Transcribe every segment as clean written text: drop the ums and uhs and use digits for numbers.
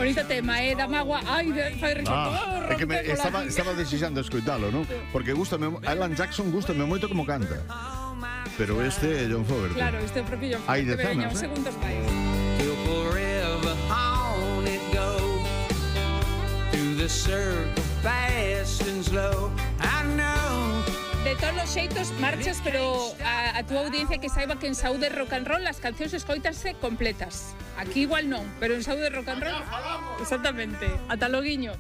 Bonito tema, da mágoa. Ai, fai risotto. É que estaba desexando escoitalo, non? Porque Alan Jackson gústame moito como canta. Pero este é John Fogerty. Claro, este é o propio John Hai Fogerty. Veña, decenas, uns segundos máis. Till forever on it goes, through the circle fast and slow. I know. De todos os xeitos marchas, pero a túa audiencia que saiba que en Saúde Rock and Roll as cancións escoitanse completas. Aquí igual non, pero en Saúde Rock and Roll exactamente, ata loguiño.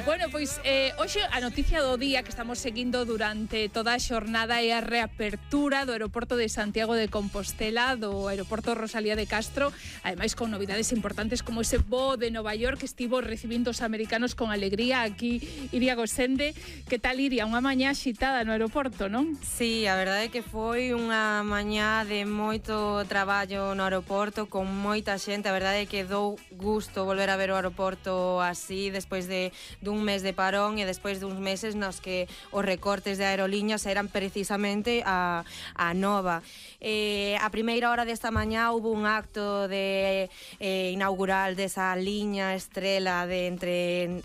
Bueno, pois hoxe a noticia do día que estamos seguindo durante toda a xornada é a reapertura do aeroporto de Santiago de Compostela, do aeroporto Rosalía de Castro, ademais con novidades importantes como ese voo de Nova York que estivo recibindo os americanos con alegría. Aquí Iria Gosende. Que tal, Iria? Unha mañá xitada no aeroporto, non? Sí, a verdade é que foi unha mañá de moito traballo no aeroporto, con moita xente. A verdade é que dou gusto volver a ver o aeroporto así despois dun mes de parón e despois duns meses nos que os recortes de aerolíneas eran precisamente a nova. A primeira hora desta mañá hubo un acto de inaugural desa liña estrela de entre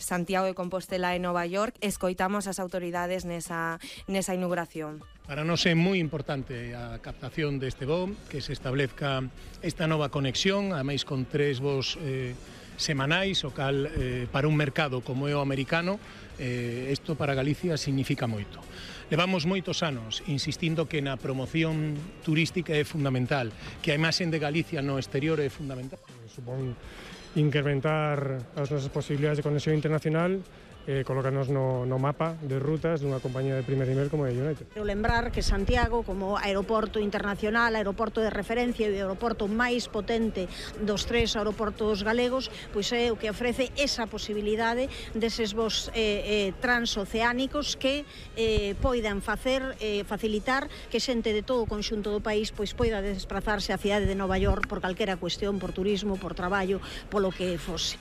Santiago de Compostela e Nova York. Escoitamos as autoridades nesa inauguración. Para nós é moi importante a captación deste voo, que se establezca esta nova conexión, ademais con 3 voos semanais, o cal para un mercado como é o americano, isto para Galicia significa moito. Levamos moitos anos insistindo que na promoción turística é fundamental, que a imaxen de Galicia no exterior é fundamental. Supón incrementar as nosas posibilidades de conexión internacional, colocarnos no mapa de rutas dunha compañía de primer nivel como é United. Quero lembrar que Santiago, como aeroporto internacional, aeroporto de referencia e o aeroporto máis potente dos 3 aeroportos galegos, pois é o que ofrece esa posibilidade deses voos transoceánicos que poidan facilitar que xente de todo o conxunto do país pois poida desplazarse á cidade de Nova York por calquera cuestión, por turismo, por traballo, polo que fose.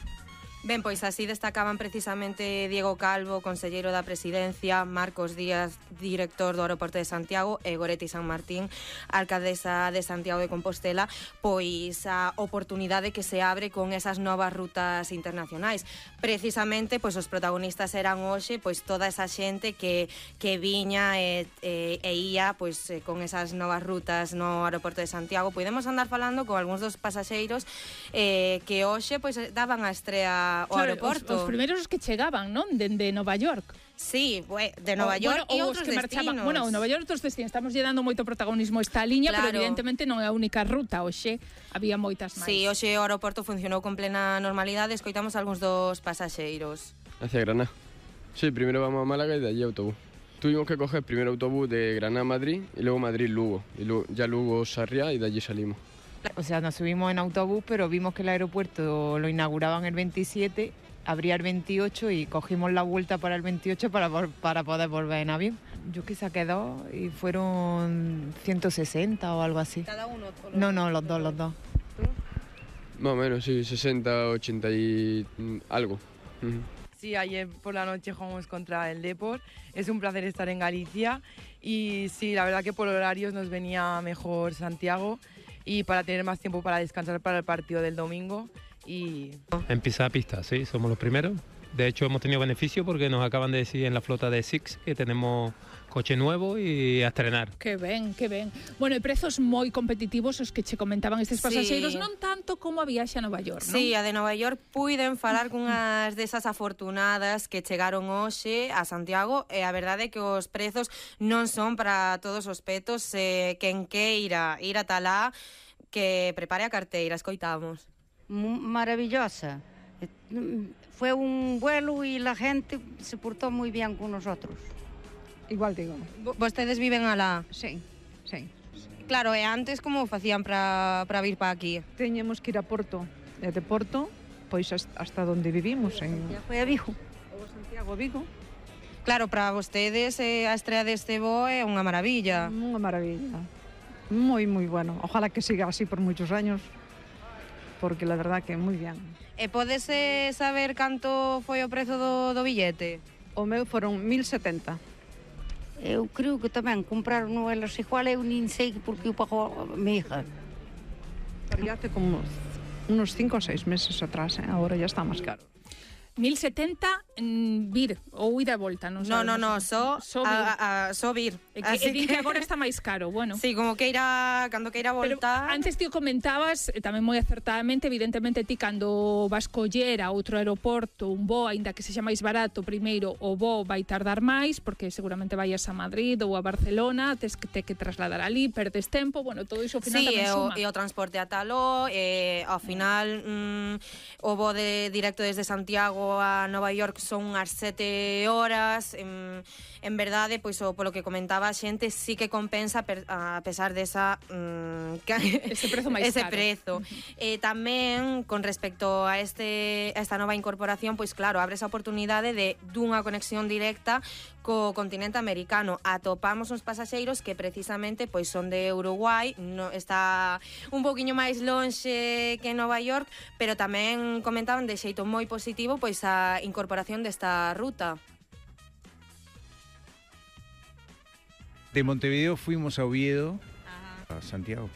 Ben, pois así destacaban precisamente Diego Calvo, conselleiro da Presidencia, Marcos Díaz, director do aeroporto de Santiago, e Goretti San Martín, alcaldesa de Santiago de Compostela, pois a oportunidade que se abre con esas novas rutas internacionais. Precisamente, pois os protagonistas eran hoxe, pois toda esa xente que viña e ía pois con esas novas rutas no aeroporto de Santiago. Podemos andar falando con algúns dos pasaxeiros que hoxe pois daban a estrea o aeroporto. Os primeiros que chegaban, non? Dende Nova York. Sí, de Nova York e outros que destinos. Bueno, Nova York e outros destinos. Estamos lle dando moito protagonismo a esta liña, claro. Pero evidentemente non é a única ruta. Hoxe había moitas máis. Sí, hoxe o aeroporto funcionou con plena normalidade. Escoitamos algúns dos pasaxeiros. Hacia Granada. Sí, primero vamos a Málaga y de allí autobús. Tuvimos que coger primero autobús de Granada a Madrid y luego Madrid-Lugo. Y luego, ya Lugo-Sarriá y de allí salimos. O sea, nos subimos en autobús, pero vimos que el aeropuerto lo inauguraban el 27, abría el 28 y cogimos la vuelta para el 28 para poder volver en avión. Yo que saqué 2 y fueron 160 o algo así. ¿Cada uno? No, los dos. ¿Tú? Más o menos, sí, 60, 80 y algo. Sí, ayer por la noche jugamos contra el Depor. Es un placer estar en Galicia y sí, la verdad que por horarios nos venía mejor Santiago y para tener más tiempo para descansar para el partido del domingo. En pisar pista, sí, somos los primeros. De hecho, hemos tenido beneficio porque nos acaban de decir en la flota de Six que tenemos coche nuevo y a estrenar. Que ben. Bueno, e prezos moi competitivos os que che comentaban estes pasaxeiros, sí. Non tanto como a viaxe a Nova York, non? Sí, a de Nova York puiden falar cunhas desas afortunadas que chegaron hoxe a Santiago e a verdade é que os prezos non son para todos os petos. Quen queira ir a talá, que prepare a carteira, escoitamos. Maravillosa. Fue un vuelo y la gente se portó muy bien con nosotros. Igual digo. ¿Vostedes viven alá? Sí. Claro, e antes como facían para vir para aquí? Teñemos que ir a Porto. E de Porto, pois hasta donde vivimos. Ya foi a Vigo. Ou Santiago, Vigo. Claro, para vostedes a estrea deste voo é unha maravilla. Unha maravilla. Moi bueno. Ojalá que siga así por muchos años, porque la verdad que moi bien. E podes saber canto foi o prezo do billete? O meu foron 1.070. Eu creo que tamén compraron elas igual, eu nin sei porque eu pago a mi hija. Pagaste como unos 5 o 6 meses atrás, ahora ya está más caro. 1070 vir ou ida e volta, non sabemos. No, só vir. Que agora está máis caro, bueno. Sí, como cando queira voltar. Pero antes ti o comentabas, tamén moi acertadamente, evidentemente ti cando vas coller a outro aeroporto un voo, aínda que sexa máis barato, primeiro o voo vai tardar máis, porque seguramente vayas a Madrid ou a Barcelona, tes que trasladar ali, perdes tempo, bueno, todo iso ao final tamén suma. Sí, e o transporte a Taló, ao final o voo directo desde Santiago a Nova York son unhas 7 horas. En verdade, pois polo que comentaba a xente, sí que compensa a pesar desa ese prezo máis caro. Prezo. Tamén con respecto a esta nova incorporación, pois claro, abre esa oportunidade dunha conexión directa co continente americano. Atopamos uns pasaxeiros que precisamente pois son de Uruguai, está un poquinho máis lonxe que Nova York, pero tamén comentaban de xeito moi positivo pois a incorporación desta ruta. De Montevideo fuimos a Oviedo, a Santiago.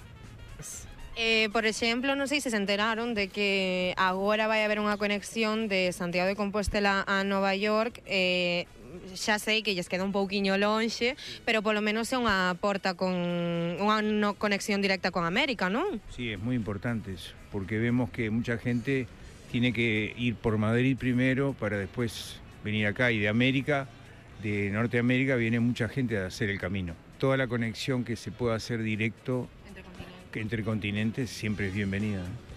Por exemplo, non sei se enteraron de que agora vai haber unha conexión de Santiago de Compostela a Nova York. Xa sei que lles queda un pouquiño lonxe, pero polo menos é unha porta con unha conexión directa con América, non? Sí, es muy importante eso, porque vemos que mucha gente tiene que ir por Madrid primero para después venir acá, y de América, de Norteamérica, viene mucha gente a hacer el camino. Toda la conexión que se pueda hacer directo entre continentes siempre es bienvenida, ¿no?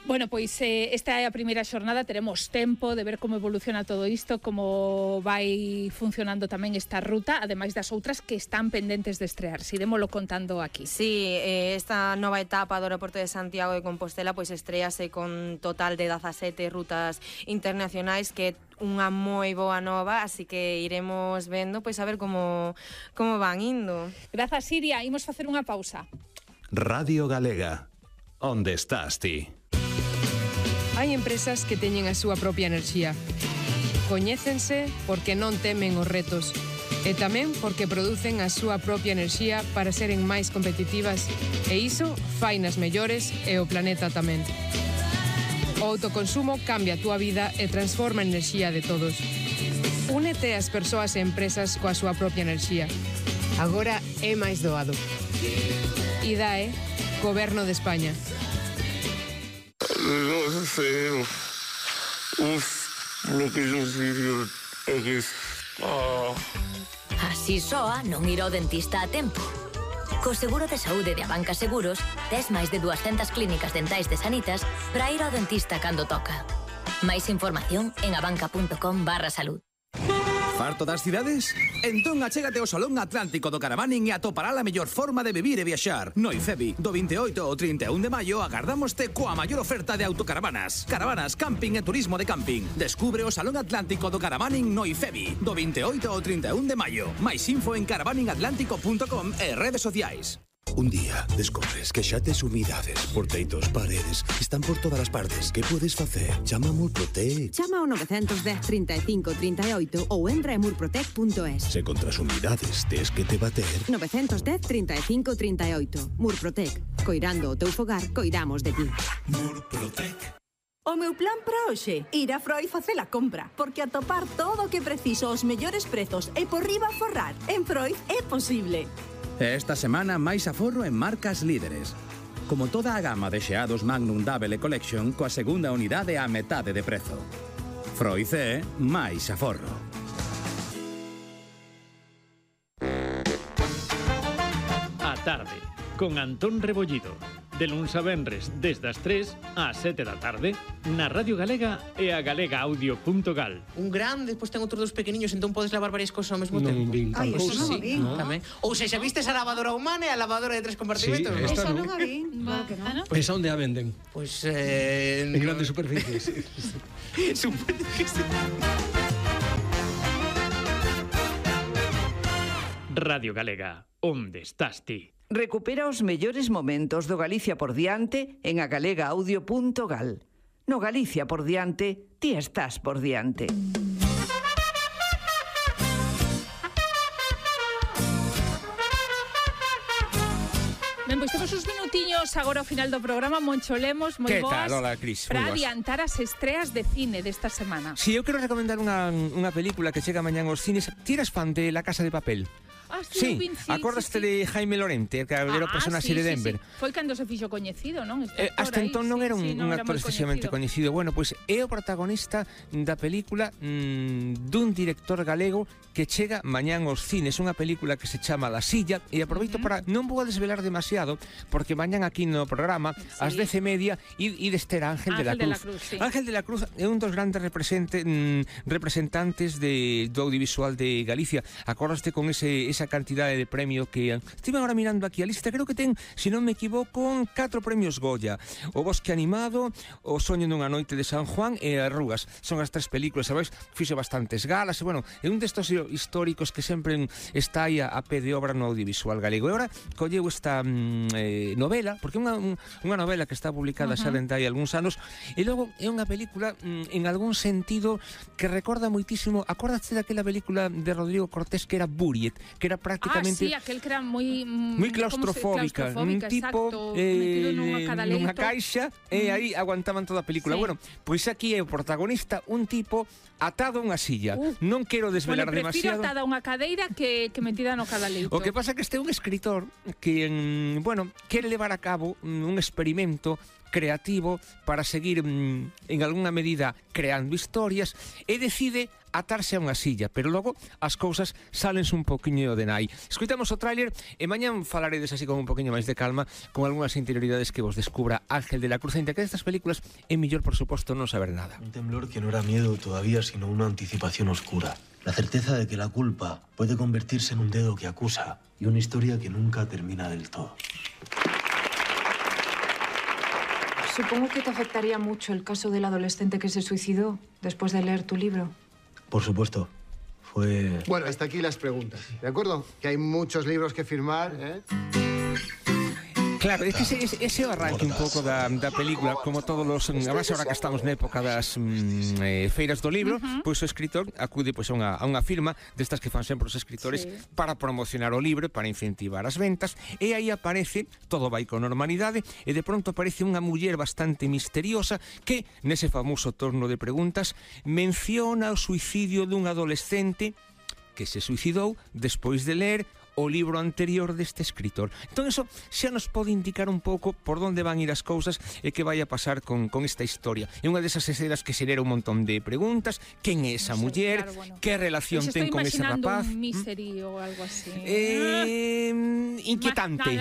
Bueno, pois esta é a primeira xornada, teremos tempo de ver como evoluciona todo isto, como vai funcionando tamén esta ruta, ademais das outras que están pendentes de estrearse. Iremoslo contando aquí. Sí, esta nova etapa do aeroporto de Santiago de Compostela pois estrease con total de 17 rutas internacionais, que unha moi boa nova, así que iremos vendo pois a ver como van indo. Grazas, Siria, imos facer unha pausa. Radio Galega. Onde estás ti? Hai empresas que teñen a súa propia enerxía. Coñécense porque non temen os retos e tamén porque producen a súa propia enerxía para seren máis competitivas, e iso fai nas mellores e o planeta tamén. O autoconsumo cambia a túa vida e transforma a enerxía de todos. Únete ás persoas e empresas coa súa propia enerxía. Agora é máis doado. IDAE, Goberno de España. No sé. Lo que yo sigo é que... Así soa non ir ao dentista a tempo. Co seguro de saúde de Abanca Seguros, tes máis de 200 clínicas dentais de Sanitas para ir ao dentista cando toca. Máis información en abanca.com/salud. Farto das cidades? Entón achégate ao Salón Atlántico do Caravaning e atopará a mellor forma de vivir e viaxar. No IFEBI, do 28 ao 31 de maio, agardámoste coa maior oferta de autocaravanas. Caravanas, camping e turismo de camping. Descubre o Salón Atlántico do Caravaning no IFEBI, do 28 ao 31 de maio. Mais info en caravaningatlántico.com e redes sociais. Un día descobres que xa tes humidades, porteitos, paredes, están por todas as partes. Que podes facer? Chama a Murprotec. Chama ao 910 35 38 ou entra en murprotec.es. Se contra as humidades tes que te bater. 910 35 38. Murprotec. Coirando o teu fogar, coiramos de ti. Murprotec. O meu plan para hoxe, ir a Freud facer a compra, porque atopar todo o que preciso aos mellores prezos e por riba forrar. En Freud é posible. Esta semana máis aforro en marcas líderes. Como toda a gama de xeados Magnum Double Collection coa segunda unidade a metade de prezo. Freud é máis aforro. A tarde, con Antón Rebollido. De luns a venres, desde as 3 ás 7 da tarde, na Radio Galega e a galegaaudio.gal. Un grande, despois ten outros dos pequeniños, entón podes lavar varias cousas ao mesmo tempo. Ai, eso non a vi. Tamén. Ou sexa, vistes a lavadora humana e a lavadora de 3 compartimentos? Sí, esta non a vi. Claro que non. Pois onde a venden? Pois en grandes superficies. Supoño que sí. Radio Galega, onde estás ti? Recupera os mellores momentos do Galicia por diante en agalegaudio.gal. No Galicia por diante, ti estás por diante. Ben, pois temos uns minutiños agora ao final do programa, Moncho Lemos, moi boas. Que tal, hola, Cris? Para adiantar as estreas de cine desta semana. Si, eu quero recomendar unha película que chega mañán aos cines. Ti eres fan de La Casa de Papel? Sí, acordaste de Jaime Lorente, que era o personaxe de Denver. Foi cando se fixo coñecido, non? Hasta entón non era un actor excesivamente coñecido. Bueno, pois é o protagonista da película dun director galego que chega mañán aos cines, unha película que se chama La Silla, e aproveito para non vou a desvelar demasiado, porque mañán aquí no programa ás 10:30 ides ter a Ángel de la Cruz. Ángel de la Cruz é un dos grandes representantes do audiovisual de Galicia. Acordaste con esa cantidade de premio que estive agora mirando aquí a lista, creo que ten, se non me equivoco, 4 premios Goya: O Bosque Animado, O Soño dunha noite de San Juan e Arrugas. Son as 3 películas, sabes? Fixe bastantes galas, e bueno, é un destos históricos que sempre está aí a pé de obra no audiovisual galego. E agora colleu esta novela, porque é unha novela que está publicada xa dende hai algúns anos, e logo é unha película en algún sentido que recorda moitísimo. Acordaste daquela película de Rodrigo Cortés que era Buriet, que era prácticamente aquel que era moi claustrofóbica, un tipo metido nunha caixa, e aí aguantaban toda a película. Bueno, pois aquí é o protagonista un tipo atado a unha silla. Non quero desvelar demasiado. Prefiro atada a unha cadeira que metida no cadaleito. O que pasa é que este é un escritor que, quere levar a cabo un experimento creativo para seguir en algunha medida creando historias, e decide atarse a unha silla, pero logo as cousas salense un poquinho de nai. Escoitamos o tráiler e mañán falaredes así con un poquinho máis de calma, con algunhas interioridades que vos descubra Ángel de la Cruz. Entre que destas películas é mellor, por suposto, non saber nada. Un temblor que no era miedo todavía, sino una anticipación oscura. La certeza de que la culpa puede convertirse en un dedo que acusa y una historia que nunca termina del todo. Supongo que te afectaría mucho el caso del adolescente que se suicidó después de leer tu libro. Por supuesto. Fue... Bueno, hasta aquí las preguntas, ¿de acuerdo? Que hay muchos libros que firmar, ¿eh? Claro, é que ese é o arranque un pouco da película, como todos os... Además, agora que estamos na época das feiras do libro, pois o escritor acude pois, a unha firma destas que fan sempre os escritores para promocionar o libro, para incentivar as ventas, e aí aparece, todo vai con normalidade, e de pronto aparece unha muller bastante misteriosa que, nese famoso torno de preguntas, menciona o suicidio dun adolescente que se suicidou despois de ler o libro anterior deste escritor. Entón, eso xa nos pode indicar un pouco por onde van ir as cousas e que vai a pasar con esta historia. É unha desas escenas que xera un montón de preguntas. Quen é esa muller? Claro, bueno. Que relación ten con ese rapaz? Un misery ou algo así. Inquietante.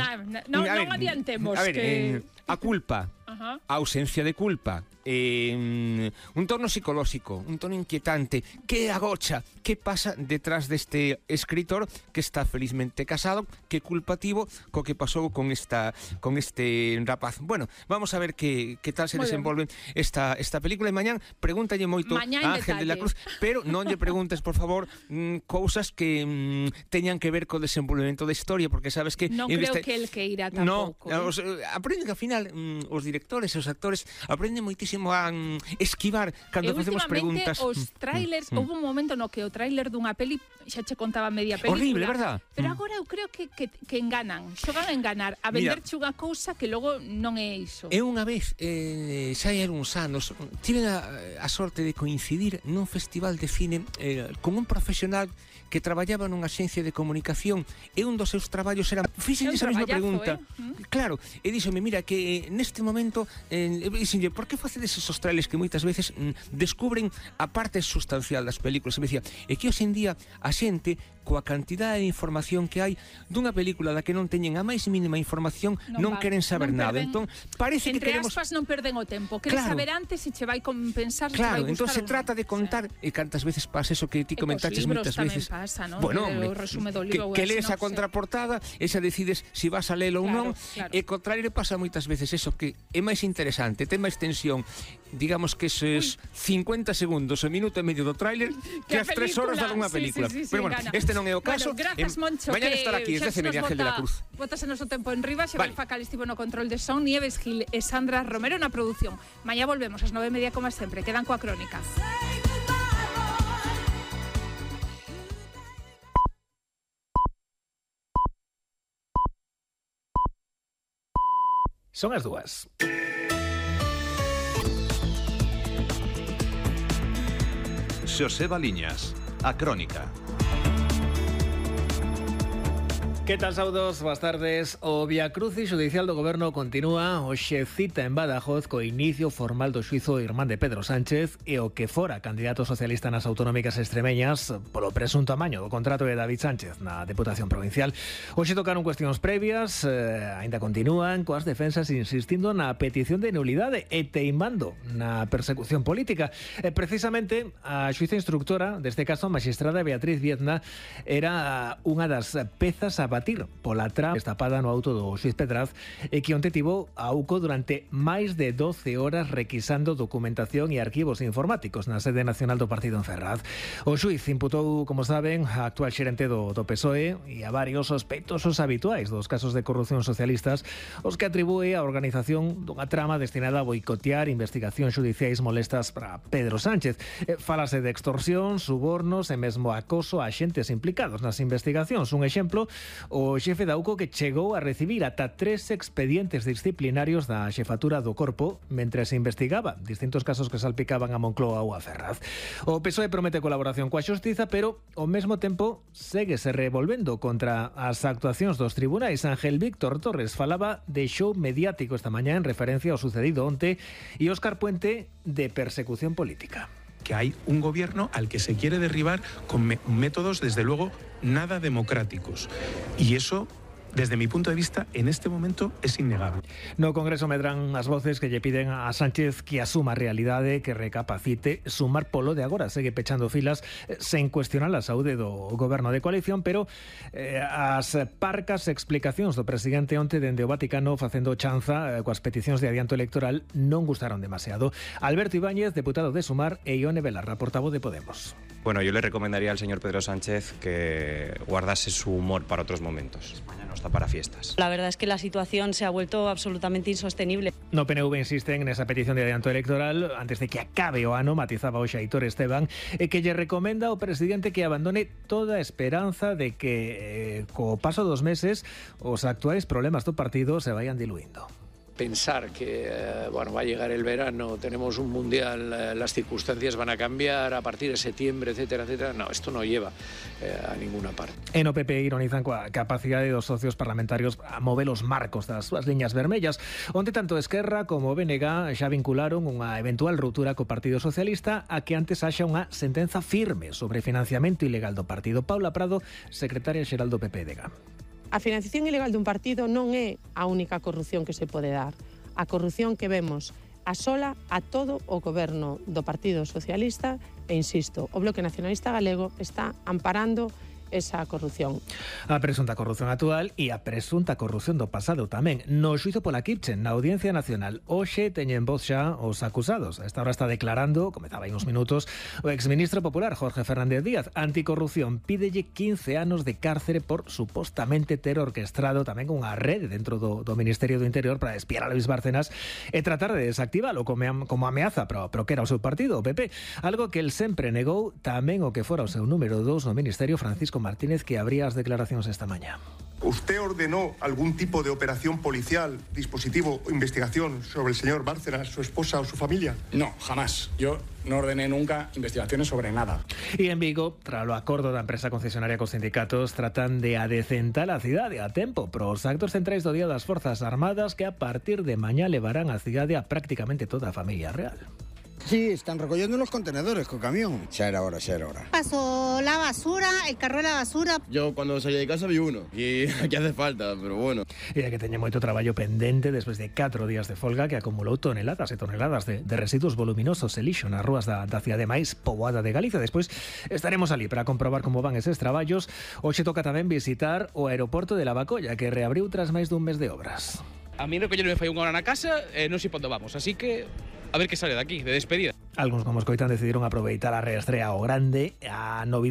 Non adiantemos. A ver, a culpa, a ausencia de culpa, un tono psicolóxico, un tono inquietante. Que agocha? Que pasa detrás deste escritor que está felizmente casado? Que culpativo co que pasou con este rapaz? Bueno, vamos a ver que tal se desenvolve esta película. E mañán pregúntalle moito a Ángel de la Cruz, pero non lle preguntes, por favor, cousas que teñan que ver co desenvolvemento da historia, porque sabes que... Non creo que el que irá tampouco. Aprenden que ao final os directores e os actores aprenden moitísimo a esquivar cando facemos preguntas. Os trailers, houve un momento no que o trailer dunha peli xa che contaba media película. Horrible, verdad? Pero agora eu creo que enganan, xogan a enganar, a venderche unha cousa que logo non é iso. Eu unha vez, xa hai uns anos, tive a sorte de coincidir nun festival de cine con un profesional que traballaba nunha axencia de comunicación, e un dos seus traballos era... Fíxenlle esa mesma pregunta. Claro, e díxome, mira, que neste momento díxenlle, por que facedes esos trailers que moitas veces descubren a parte sustancial das películas? E me dicía, é que hoxe en día a xente, coa cantidade de información que hai dunha película da que non teñen a máis mínima información, non queren saber nada. Entón, parece que queremos... Entre aspas, non perden o tempo. Queren saber antes se che vai compensar, se che vai gustar. Entón se trata de contar, e cantas veces pasa eso que ti comentaches moitas veces. Pasa, ¿no? Bueno, hombre, que lees a contraportada e xa decides se vas a lelo ou non, e co trailer pasa moitas veces eso, que é máis interesante, ten máis tensión, digamos que esos 50 segundos, o minuto e medio do trailer, que as 3 horas de unha película. Pero bueno, este non é o caso. Grazas, Moncho, mañana estará aquí, es de Ángel de la Cruz. Botas en noso tempo en riba, Xavier Facal estivo no control de son, Nieves Gil e Sandra Romero na produción. Mañá volvemos ás 9:30 como sempre. Quedan coa crónica. Son as 2. Xosé Baliñas, a Crónica. Que tal, saudos? Boas tardes. O viacrucis judicial do Goberno continúa. Hoxe cita en Badajoz co inicio formal do xuizo irmán de Pedro Sánchez e o que fora candidato socialista nas autonómicas extremeñas polo presunto amaño do contrato de David Sánchez na Deputación Provincial. Hoxe tocaron cuestións previas, aínda continúan coas defensas insistindo na petición de nulidade e teimando na persecución política. Precisamente a xuíza instructora deste caso, a magistrada Beatriz Viezna, era unha das pezas a batir pola trama destapada no auto do xuiz Pedraz e que onte tivo a UCO durante máis de 12 horas requisando documentación e arquivos informáticos na sede nacional do partido en Ferraz. O xuiz imputou, como saben, a actual xerente do PSOE e a varios sospeitosos habituais dos casos de corrupción socialistas, os que atribúe a organización dunha trama destinada a boicotear investigacións xudiciais molestas para Pedro Sánchez. Fálase de extorsión, subornos e mesmo acoso a xentes implicados nas investigacións. Un exemplo, o xefe da UCO que chegou a recibir ata 3 expedientes disciplinarios da xefatura do corpo mentre se investigaba distintos casos que salpicaban a Moncloa ou a Ferraz. O PSOE promete colaboración coa xustiza, pero ao mesmo tempo séguese revolvendo contra as actuacións dos tribunais. Ángel Víctor Torres falaba de show mediático esta mañá en referencia ao sucedido onte e Óscar Puente de persecución política. Que hay un gobierno al que se quiere derribar con métodos, desde luego, nada democráticos. Y eso, desde mi punto de vista, en este momento es innegable. No Congreso medran as voces que lle piden a Sánchez que asuma a realidade, que recapacite. Sumar polo de agora segue pechando filas sen cuestionar a saúde do goberno de coalición, pero as parcas explicacións do presidente onte dende o Vaticano facendo chanza coas peticións de adianto electoral non gustaron demasiado. Alberto Ibáñez, deputado de Sumar, e Ione Belarra, portavoz de Podemos. Bueno, yo le recomendaría al señor Pedro Sánchez que guardase su humor para otros momentos. España no está para fiestas. La verdad es que la situación se ha vuelto absolutamente insostenible. No PNV insisten nesa petición de adianto electoral antes de que acabe o ano, matizaba hoxe Aitor Esteban, e que lle recomenda ao presidente que abandone toda esperanza de que co paso dos meses os actuais problemas do partido se vayan diluindo. Pensar que va a llegar el verano, tenemos un mundial, las circunstancias van a cambiar a partir de septiembre, etcétera, etcétera. No, esto no lleva a ninguna parte. En o PP ironizan coa capacidade dos socios parlamentarios a mover os marcos das súas liñas vermellas, onde tanto Esquerra como o BNG xa vincularon unha eventual ruptura co Partido Socialista a que antes haxa unha sentenza firme sobre financiamento ilegal do partido. Paula Prado, secretaria xeral do PPDG. A financiación ilegal dun partido non é a única corrupción que se pode dar. A corrupción que vemos asola a todo o goberno do Partido Socialista e, insisto, o Bloque Nacionalista Galego está amparando esa corrupción. A presunta corrupción actual e a presunta corrupción do pasado tamén. No xuizo pola Kipchen, na Audiencia Nacional, hoxe teñen voz xa os acusados. A esta hora está declarando, comezaba en uns minutos, o exministro popular Jorge Fernández Díaz. Anticorrupción pídelle 15 anos de cárcere por supostamente ter orquestrado tamén unha rede dentro do Ministerio do Interior para espiar a Luis Bárcenas e tratar de desactivalo como ameaza pero que era o seu partido, o PP. Algo que el sempre negou, tamén o que fora o seu número 2 no Ministerio, Francisco Martínez, que abría as declaracións esta mañá. ¿Usted ordenó algún tipo de operación policial, dispositivo o investigación sobre el señor Bárcenas, su esposa o su familia? No, jamás. Yo no ordené nunca investigaciones sobre nada. E en Vigo, tras o acordo da empresa concesionaria cos sindicatos, tratan de adecentar a cidade a tempo pros actos centrais do Día das Forzas Armadas que a partir de mañá levarán a cidade a prácticamente toda a familia real. Sí, están recollendo los contenedores co camión. Xa era hora, xa era hora. Pasó la basura, el carro de la basura. Yo cuando salí de casa vi uno y aquí hace falta, pero bueno. E que teña moito traballo pendente despois de 4 días de folga que acumulou toneladas e toneladas de residuos voluminosos e lixo nas rúas da cidade máis poboada de Galicia. Despois estaremos ali para comprobar como van eses traballos. Hoxe toca tamén visitar o aeroporto de Lavacolla, que reabriu tras máis dun mes de obras. A mí recollero me fai unha hora na casa e non sei pondo vamos, así que a ver que sale de aquí, de despedida. Algúns, como escoitan, decidiron aproveitar a reestrea ao grande, a novidade